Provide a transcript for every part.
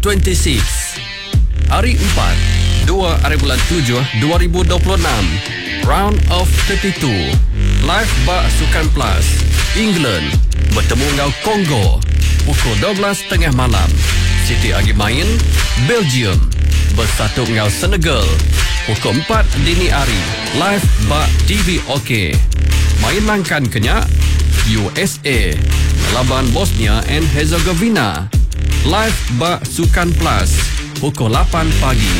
2026. Hari Empat, dua aribulan tujuh 2026, Round of 32, live ba Sukan Plus, England betemu enggau Congo pukul 12 tengah malam. Siti agi main, Belgium besatup enggau Senegal pukul empat dini hari live ba TV OK. Main nangkan ke nya, USA ngelaban Bosnia and Herzegovina live ba Sukan Plus pukul lapan pagi.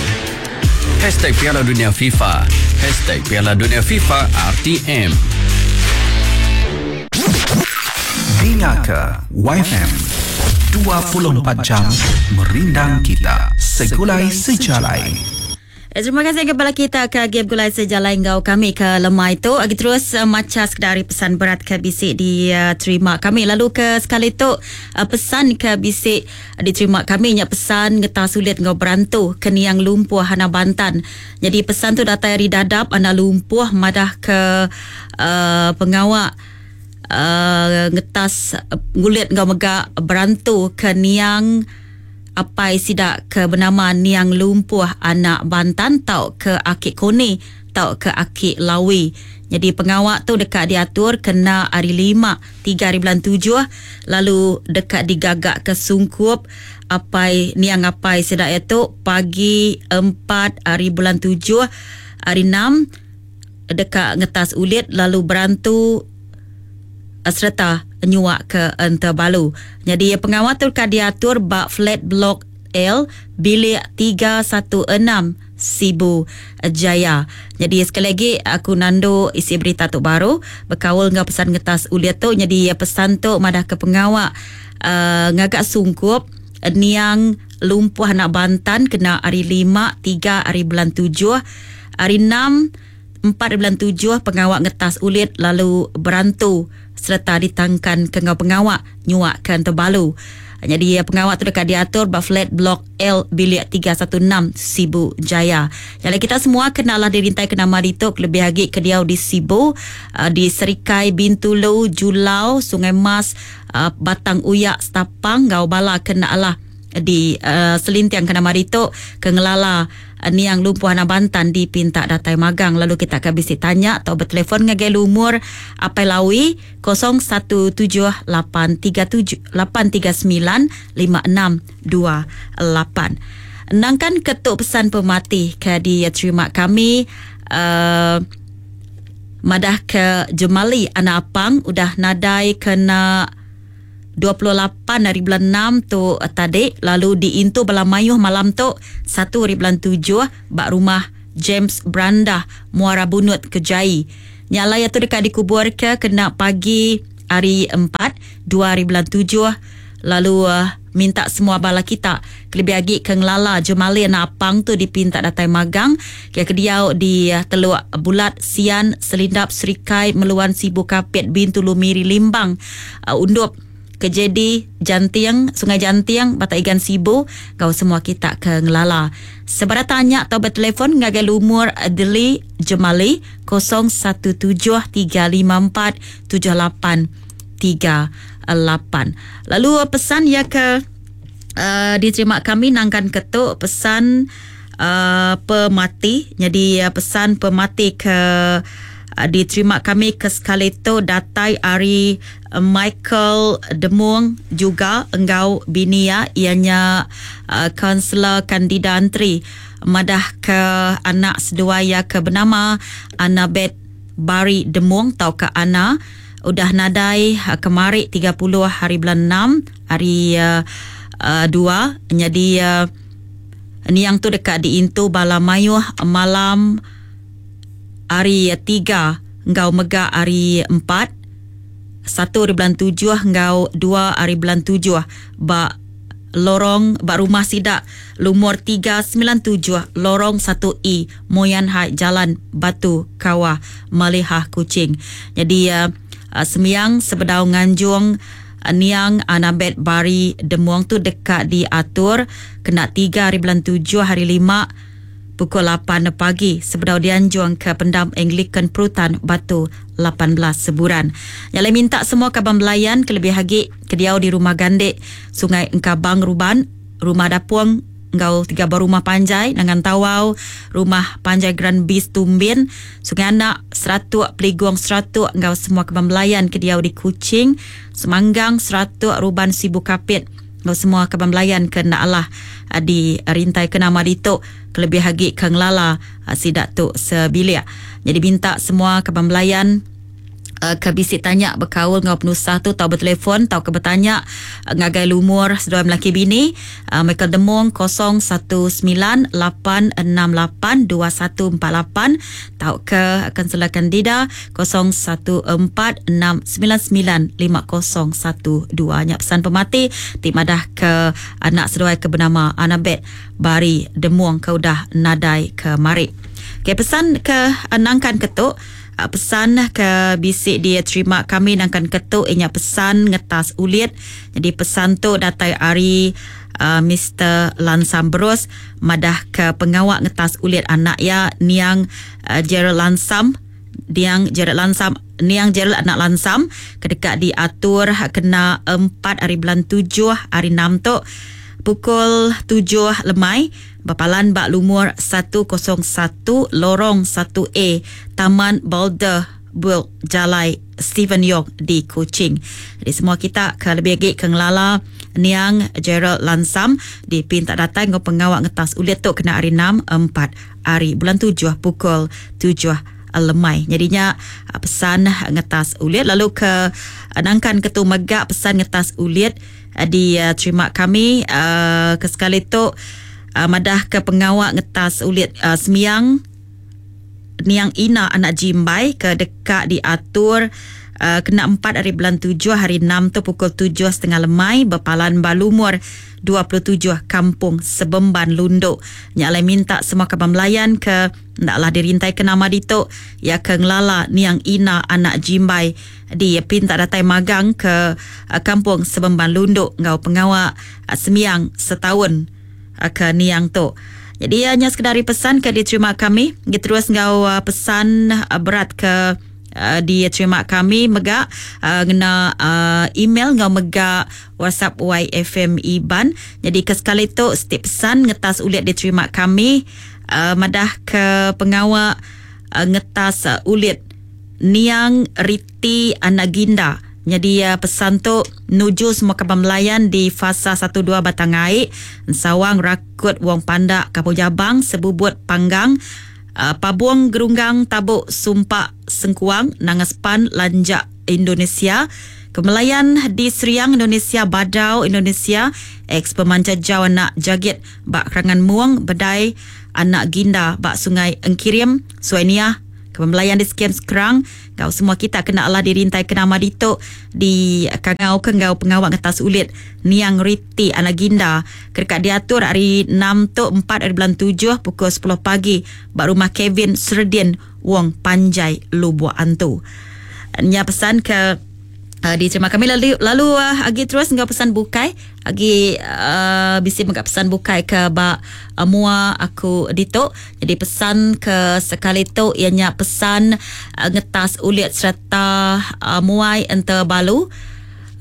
Hashtag Piala Dunia FIFA Hashtag Piala Dunia FIFA RTM. Dinga ke YFM 24 jam merindang kita segulai sejalai. Eh, terima kasih kepada kita ke agi begulai sejalai enggau kami ke lemai tu. Agi terus uh, macha sekeda ari pesan berat ke bisi diterima kami. Lalu ke sekali tu uh, pesan ke bisi diterima kami nya pesan ngeta sulit enggau berantu ke niang lumpuh Hana Bantan. Jadi pesan tu datai ari dadap anda lumpuh madah ke uh, pengawa uh, ngetas ngulit enggau mega berantu ke niang apai sida ke benama Niang Lumpuh anak Bantan tau ke aki Koni tau ke aki Lawi. Nyadi pengawa tu deka diatur kena hari lima, tiga hari bulan tujuh lalu deka digaga ke sungkup apai niang apai sida iya tu pagi empat hari bulan tujuh hari enam deka ngetas ulit lalu berantu sereta nyuak ke Entebalu. Nyadi pengawa tu deka diatur ba Flat Blok L, Bilik 316, Sibu Jaya. Nyadi sekali agi aku nandu isi berita tu baru bekaul enggau pesan ngetas ulit tu. Nyadi pesan tu madahka pengawa uh, ngaga sungkup niang lumpuh anak Bantan kena hari lima, tiga hari bulan tujuh, hari enam, empat hari bulan tujuh pengawa ngetas ulit lalu berantu sereta ditangkan ke enggau pengawa nyuakka Entebalu. Nyadi pengawa tu deka diatur ba Flat Blok L Bilik 316 Sibu Jaya. Nyadi kita semua kenalah dirintai ke nama ditu kelebih agi ke diau di Sibu, di Serikai, Bintulu, Julau, Sungai Mas, Batang Uyak, Stapang enggau bala ke enda alah di selinting ke nama ditu ke ngelala niang lumpuh anak Bantan dipinta datai magang lalu kita ke bisi tanya atau bertelefon ngagai lumur Apai Lawi 017837 8395628. Nangkan ketuk pesan pemati ke diterima kami uh, madah ke Jemali anak Apang udah nadai kena 28 hari bulan 6 tu tadi lalu diintu bala mayuh malam tu 1 hari bulan 7 ba rumah James Brandah Muara Bunut Kejai. Nya alai tu deka dikubur ke kena pagi hari 4 2 hari bulan 7 lalu uh, minta semua bala kita kelebih agi ke ngelala Jemali anak Apang tu dipinta datai magang ke kediau di Teluk Bulat Sian Selindap Serikai Meluan Sibu Kapit Bintulu Miri Limbang uh, Undup Kejedi Janting Sungai Janting Batak Igan Sibu kau semua kita ke ngelala. Sebarang tanya atau bertelefon ngagai lumur Deli Jemali 0173547838. Lalu pesan ya ke uh, diterima kami nangkan ketuk pesan uh, pemati. Jadi uh, pesan pemati ke uh, diterima kami ke sekali tu datai ari Michael Demung juga enggau bini ya ianya kaunselor Kandida Antri madah ke anak seduai ya ke bernama Annabeth Bari Demung tau ke Ana udah nadai kemari 30 hari bulan 6 hari uh, 2. Jadi uh, niang tu dekat diintu bala mayuh malam hari 3 enggau mega hari 4 1 hari bulan 7 enggau 2 hari bulan 7 ba lorong ba rumah sidak lumur 397 lorong 1E Moyan Hai Jalan Batu Kawah Malihah Kuching. Jadi uh, sembiang sebedau nganjung uh, niang Annabeth Bari Demung tu dekat diatur kena 3 hari bulan 7 hari 5 pukul 8 pagi sebedau dianjung ke pendam Anglican Perutan Batu 18 Seburan. Yang lain minta semua kaban belayan kelebih agi ke diau di rumah Gandek Sungai Engkabang Ruban Rumah Dapung enggau tiga buah rumah panjai Nangan Tawau, Rumah Panjai Grand Bis Tumbin, Sungai Anak, Seratuk, Peligung Seratuk enggau semua kaban belayan ke diau di Kuching, Semanggang, Seratuk, Ruban Sibu Kapit enggau semua kaban belayan ke enda alah di rintai ke nama ditu kelebih agi ke ngelala sida tu sebilik. Nyadi minta semua kaban belayan ke bisi tanya bekaul enggau penusah tu tau betelefon tauka betanya ngagai lumur seduai melaki bini Michael Demong 0198682148 tauka Kaunselor Candida 0146995012. Nya pesan pemati ti madah ke anak seduai ke benama Annabeth Bari Demong ke udah nadai kemari. Okey pesan ke nangkan ke tu. Pesan ke bisi diterima kami nangkan ke tu iya nya pesan ngetas ulit. Nyadi pesan tu datai ari Mister Lansam Berus madah ke pengawa ngetas ulit anak iya niang Gerald Lansam niang Gerald Lansam niang Gerald anak Lansam ke deka diatur kena empat ari bulan tujuh hari enam tu pukul tujuh lemai. Bepalan ba lumur 101 Lorong satu A, Taman Boulder Build, Jalai Stephen Yong di Kuching. Jadi semua kita ke lebih agi ke ngelala niang Gerald Lansam dipinta datai enggau pengawa ngetas ulit tu kena hari enam, empat ari bulan tujuh pukul tujuh lemai. Nyadi nya pesan ngetas ulit lalu ke nangkan ke tu mega pesan ngetas ulit Diterima kami ke sekali tu madah ke pengawa ngetas ulit sembiang niang Ina anak Jimbai ke deka diatur kena empat ari bulan tujuh hari enam tu pukul tujuh setengah lemai bepalan ba lumur 27 Kampung Sebemban Lundu. Nya alai minta semua kaban belayan ke enda alah dirintai ke nama ditu iya ke ngelala niang Ina anak Jimbai Di pinta datai magang ke Kampung Sebemban Lundu enggau pengawa sembiang setaun ke niang tu. Jadi nya sekeda ari pesan ke diterima kami. Gi terus enggau pesan berat ke diterima kami mega ngena email enggau mega WhatsApp YFM Iban. Jadi ke sekali tu siti pesan ngetas ulit diterima kami madah ke pengawa ngetas ulit Niang Riti Anak Ginda. Nyadi pesan tu nuju semua kaban belayan di Fasa satu dua Batang Ai, Ensawang, Rakut, Wong Pandak, Kampung Jabang, Sebubut, Panggang, Pabong, Gerunggang, Tabuk, Sumpak, Sengkuang, Nanga Sepan, Lanjak, Indonesia, Kemelayan di Seriang, Indonesia, Badau, Indonesia, ex Pemanca Jau Anak Jagit ba Kerangan Mung, Bedai, Anak Ginda ba Sungai Engkirim, Suai Niah, Ke pembelayan di Skim Skrang enggau semua kita kena alah dirintai ke nama ditu di kangau ke enggau pengawa ngetas ulit niang Riti Anak Ginda ke deka diatur hari enam tu empat ari bulan tujuh pukul sepuluh pagi ba rumah Kevin Serdin Wong Panjai Lubok Antu. Nya pesan ke diterima kami lalu lalu agi terus enggau pesan bukai agi uh, bisi mega pesan bukai ke ba uh, mua aku ditu. Jadi pesan ke sekali tu iya nya pesan uh, ngetas ulit sereta uh, muai ente balu.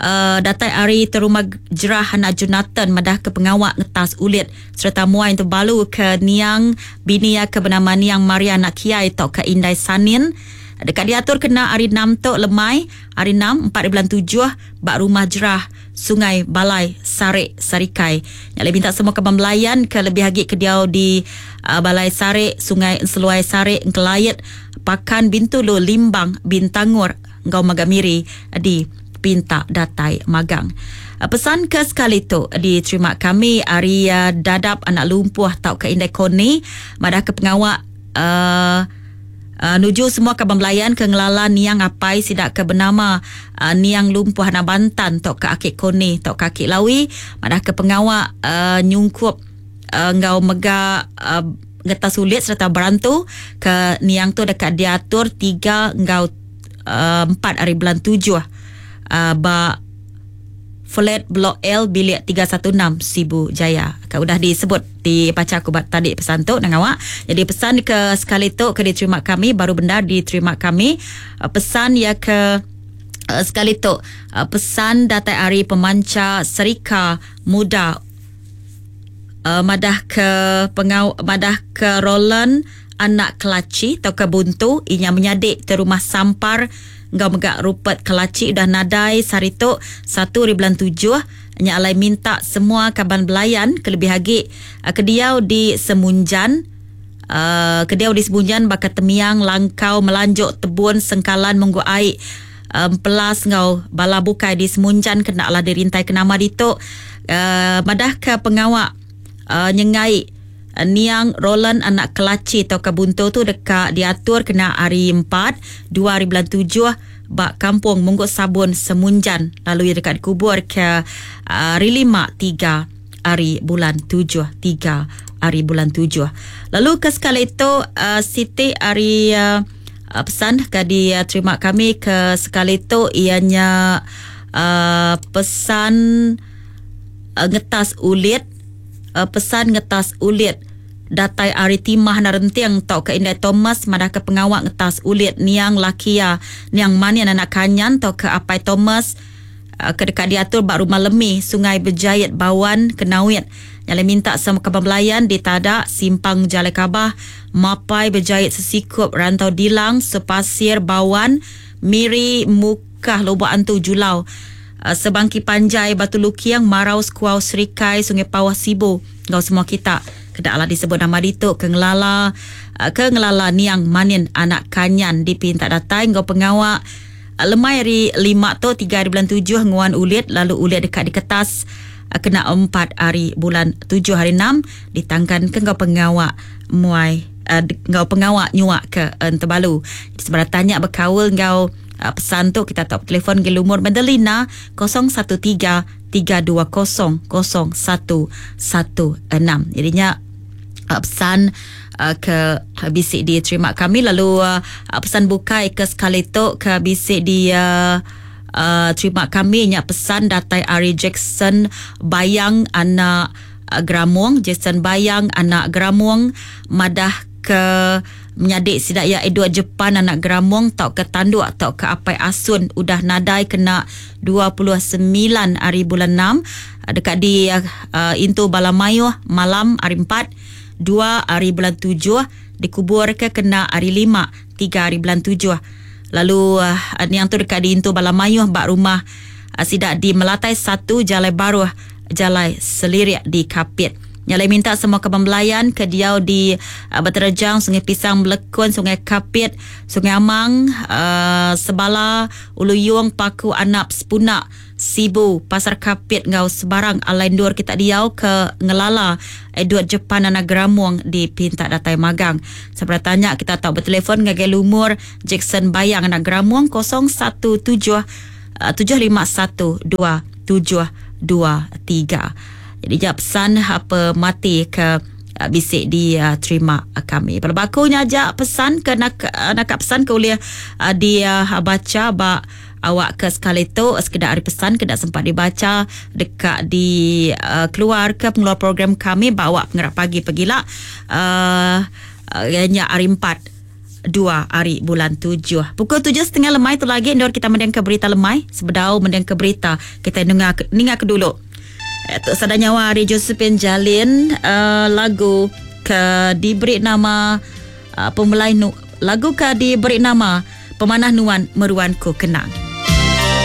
Uh, datai ari terumah jerah anak Jonathan madah ke pengawa ngetas ulit sereta muai ente balu ke niang bini iya ke benama niang Maria anak Kiai tauka Indai Sanin deka diatur kena hari enam tu lemai hari enam empat bulan tujuh ba rumah jerah Sungai Balai Sarik Sarikai. Nya alai minta semua kaban belayan ke lebih agi ke diau di Balai Sarik, Sungai Enseluai Sarik, Engkelait, Pakan, Bintulu, Limbang, Bintangor enggau mega Miri di pinta datai magang. Pesan ke sekali tu diterima kami ari Dadap Anak Lumpuh tauka Indai Koni madah ke pengawa uh, Nuju semua kaban belayan ke ngelala niang apai sida ke benama Niang Lumpuh Anak Bantan tauka Aki Koni tauka Aki Lawi madahka pengawa nyungkup enggau mega ngetas ulit sereta berantu ke niang tu deka diatur tiga enggau empat ari bulan tujuh ba Flat Blok L Bilik 316 Sibu Jaya. Ke udah disebut dibacha aku ba tadi pesan tu nang awak. Jadi pesan ke sekali tu ke diterima kami baru bendar diterima kami pesan iya ke sekali tu pesan datai ari pemancha Serika Muda. Madah ke pengau madah ke Roland anak Kelachi tauka Buntu inya menyadi ti rumah Sampar enggau mega Rupert Kelachi udah nadai sehari tu satu hari bulan tujuh nya alai minta semua kaban belayan kelebih agi ke diau di Semunjan ke diau di Semunjan baka Temiang Langkau Melanjok Tebun Sengkalan Munggu Ai Empelas enggau bala bukai di Semunjan kena lah dirintai ke nama ditu madah ke pengawa nyengai niang Roland anak Kelachi tauka Buntu tu deka diatur kena hari empat dua hari bulan tujuh ba Kampung Munggut Sabun Semunjan lalu iya deka dikubur ke hari lima tiga hari bulan tujuh tiga hari bulan tujuh. Lalu ke sekali tu siti ari Pesan ke diterima kami ke sekali tu iya nya pesan ngetas ulit pesan ngetas ulit datai ari Timah Narenting tauka Indai Thomas madahka pengawa ngetas ulit niang laki iya niang Manin anak Kanyan tauka Apai Thomas ke deka diatur ba Rumah Lemi, Sungai Bejait, Bawan, Kenawit. Nya alai minta semua kaban belayan di Tada, Simpang Jalai Kabah, Mapai, Bejait, Sesikup, Rantau Dilang, Sepasir, Bawan, Miri, Mukah, Lubok Antu, Julau, Sebangki Panjai, Batu Luking, Marau, Sekuau, Serikai, Sungai Pauh, Sibu enggau semua kita ke enda alah disebut nama ditu ke ngelala ke ngelala niang Manin anak Kanyan dipinta datai enggau pengawa Lemai hari lima tu tiga hari bulan tujuh nguan ulit lalu ulit deka diketas kena empat hari bulan tujuh hari enam ditangkan ke enggau pengawa muai enggau pengawa nyuak ke Entebalu. Sebarang tanya bekaul enggau pesan tu kita tau betelefon ngagai lumur Madelina 013 320 0116. Jadi nya pesan ke bisi diterima kami lalu pesan bukai ke sekali tu ke bisi di terima kami nya pesan datai ari Jackson Bayang anak Gramong. Jackson Bayang anak Gramong madah ke menyadi sida iya Edward Jepan anak Gramong tauka Tanduk tauka Apai Asun udah nadai kena 29 hari bulan enam deka di intu bala mayuh malam hari empat dua hari bulan tujuh dikuburka kena hari lima tiga hari bulan tujuh lalu niang tu deka diintu bala mayuh ba rumah sida di Melatai satu Jalai Baruh Jalai Selirik di Kapit. Nya alai minta semua kaban belayan ke diau di Beterejang, Sungai Pisang, Melekun, Sungai Kapit, Sungai Amang, Sebala, Ulu Yong, Paku, Anap, Sepunak, Sibu, Pasar Kapit enggau sebarang alai endur kita diau ke ngelala Edward Jepan Anak Geramung dipinta datai magang. Sebarang tanya kita tau betelefon ngagai lumur Jackson Bayang Anak Geramung 017 751 2723. Jadi ja pesan apa mati ke bisi diterima kami. Bala baku nya aja pesan ke nak naka pesan ke ulih dibaca ba awak ke sekali tu sekeda ari pesan ke enda sempat dibaca deka di keluar ke pengeluar program kami ba awak pengerak pagi pegila uhh nya hari empat. Dua ari bulan tujuh. Pukul tujuh setengah lemai tu lagi endur kita mendingka berita lemai. Sebedau mendingka berita, kita nunga ninga ke dulu. Tu sada nyawa ari Josephine Jalin uh, lagu ke diberi nama uh, pemelai nu lagu ke diberi nama Pemanah Nuan Meruan Ku Kenang.